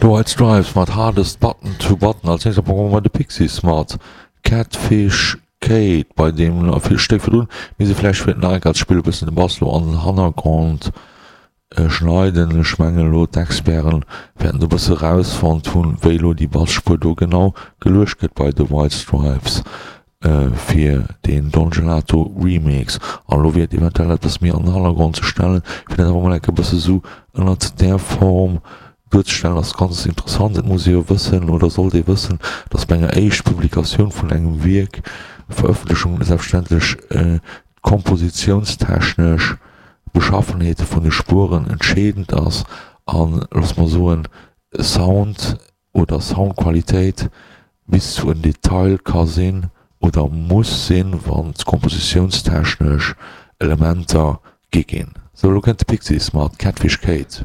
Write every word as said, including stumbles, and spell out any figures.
The White Stripes mat Hardest Button to Button, als nächst am Programm hu mer de Pixies mat Catfish Kate, bei deem nach vill Stéck virdrun mir se vläicht fir nach eng Kéier ze spillen e bëssen de Bass lo an den Hannergrond schneiden. Ech mengen elo d'Experten wäerten do e bësse rausfonnt hunn, wéi elo déi Basspuer do genau geluecht gëtt bei The White Stripes fir deen Don Gelato Remix. An elo wier et eventuell eppes méi an den Hannergrond ze stellen, fir dat awer mol eng Kéier e bësse sou ënnert där Form duerzestellen, ass ganz interessant. Et muss ee jo wëssen oder sollt ee wëssen, datt bei enger éischt Publikatioun vun engem Wierk, Verëffentlechung, selbstverständlech d'kompositiounstechnesch Beschaffenheet vun de Spueren entscheedend ass an, loosse mer soen, Sound oder Soundqualitéit bis zu en Detail ka sinn oder muss sinn, wann d'kompositiounstechnesch Elementer gi ginn. Sou, elo kënnt de Pixies mat Catfish Kate.